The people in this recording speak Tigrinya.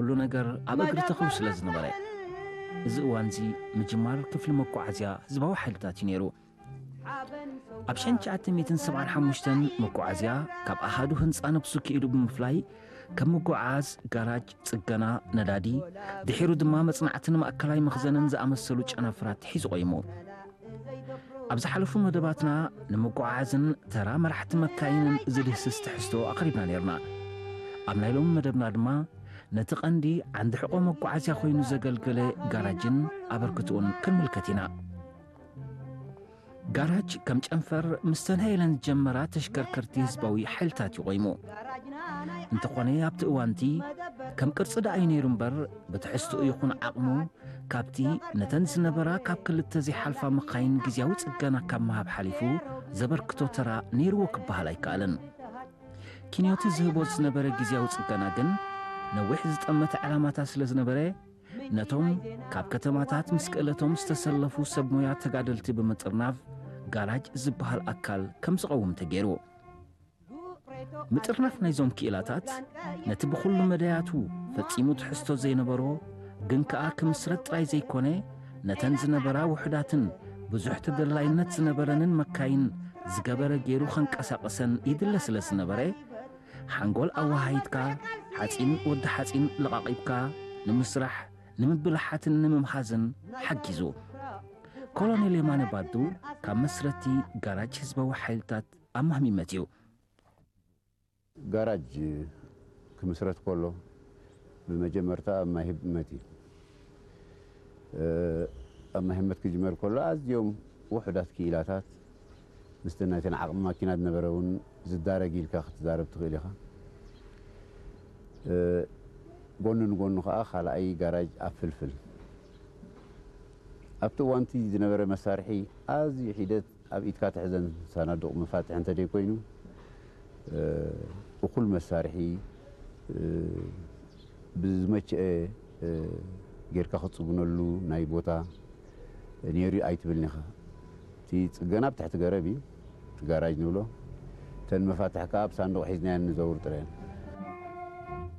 ኩሉ ነገር ኣብ እግሪ ተኽሉ ስለ ዝነበረ፣ እዚ እዋንዚ ምጅማር ክፍሊ መጓዓዝያ ህዝባዊ ሓይልታት እዩ ነይሩ። ኣብ ሸንሸዓተ ሚእትን ሰብዓን ሓሙሽተን መጓዓዝያ ካብ ኣሃዱ ህንፃ ነብሱ ክኢሉ ብምፍላይ፣ ከም ምጉዓዝ፣ ጋራጅ፣ ጽገና፣ ነዳዲ፣ ድሒሩ ድማ መጽናዕትን ማእከላይ መኽዘንን ዝኣመሰሉ ጨናፍራት ሒዙ ቆይሙ። ኣብ ዝሓለፉ መደባትና ንምጉዓዝን ተራ መራሕቲ መካይንን ዝድህስስ ትሕዝቶ ኣቕሪብና ነይርና። ኣብ ናይ ሎሚ መደብና ድማ ነቲ ቀንዲ ዓንዲ ሕቖ መጓዓዝያ ኮይኑ ዘገልገለ ጋራጅን ኣበርክትኡን ክንምልከት ኢና። ጋራጅ ከም ጨንፈር ምስ ተንሀየለን ዝጀመራ ተሽከርከርቲ ህዝባዊ ሓይልታት እዩ ቆይሙ። እንተኾነ ኣብቲ እዋንቲ ከም ቅርጺ ደኣ እዩ ነይሩ እምበር፣ ብትሕዝትኡ ይኹን ዓቕሙ ካብቲ ነተን ዝነበራ ካብ ክልተ ዘይሓልፋ መኻይን ግዜያዊ ጽገና ካብ ምሃብ ሓሊፉ ዘበርክቶ ተራ ነይርዎ ክበሃል ኣይከኣልን። ኪንዮቲ ዝህቦ ዝነበረ ግዜያዊ ጽገና ግን ነዊሕ ዝጠመተ ዕላማታት ስለ ዝነበረ፣ ነቶም ካብ ከተማታት ምስ ክእለቶም ዝተሰለፉ ሰብ ሞያ ተጋደልቲ ብምጥርናፍ ጋራጅ ዝበሃል ኣካል ከም ዝቐውም ተገይሩ። ምጥርናፍ ናይዞም ክኢላታት ነቲ ብኹሉ መዳያቱ ፈጺሙ ትሕዝቶ ዘይነበሮ ግን ከኣ ክምስረት ጥራይ ዘይኮነ፣ ነተን ዝነበራ ውሑዳትን ብዙሕ ተደላይነት ዝነበረንን መካይን ዝገበረ ገይሩ ከንቀሳቕሰን ይድለ ስለ ዝነበረ፣ ሓንጎል ኣወሃሂድካ፣ ሓጺን ወዲ ሓጺን ለቓቒብካ ንምስራሕ፣ ንምብልሓትን ንምምሃዝን ሓጊዙ። ኮሎኔል የማነ ባዱ ካብ መስረቲ ጋራጅ ህዝባዊ ሓይልታት ኣማህሚመት እዩ። ጋራጅ ክምስረት ከሎ ብመጀመርታ ኣብ ማይ ህመት እዩ። ኣብ ማይ ህመት ክጅመር ከሎ ኣዝዮም ውሑዳት ክኢላታት ምስቲ ናይተን ዓቕሚ ማኪና ዝነበረ እውን ዝዳረግ ኢልካ ክትዛረብ ትኽእል ኢኻ። ጎኒ ንጎኑ ከዓ ካልኣይ ጋራጅ ኣብ ፍልፍል ኣብቲ እዋንቲ ዝነበረ መሳርሒ ኣዝዩ ሒደት ኣብ ኢድካ ትሕዘን ሳናዱቕ መፋትሒ እንተደይ ኮይኑ እኹል መሳርሒ ብዝመቸአ ጌርካ ክትፅግነሉ ናይ ቦታ ነይሩ ኣይትብልን ኢኻ። እቲ ፅገና ኣብ ትሕቲ ገረብ እዩ፣ እቲ ጋራጅ ንብሎ። እተን መፋትሒ ከዓ ኣብ ሳንዱቕ ሒዝናየን ንዘውር ጥራየን።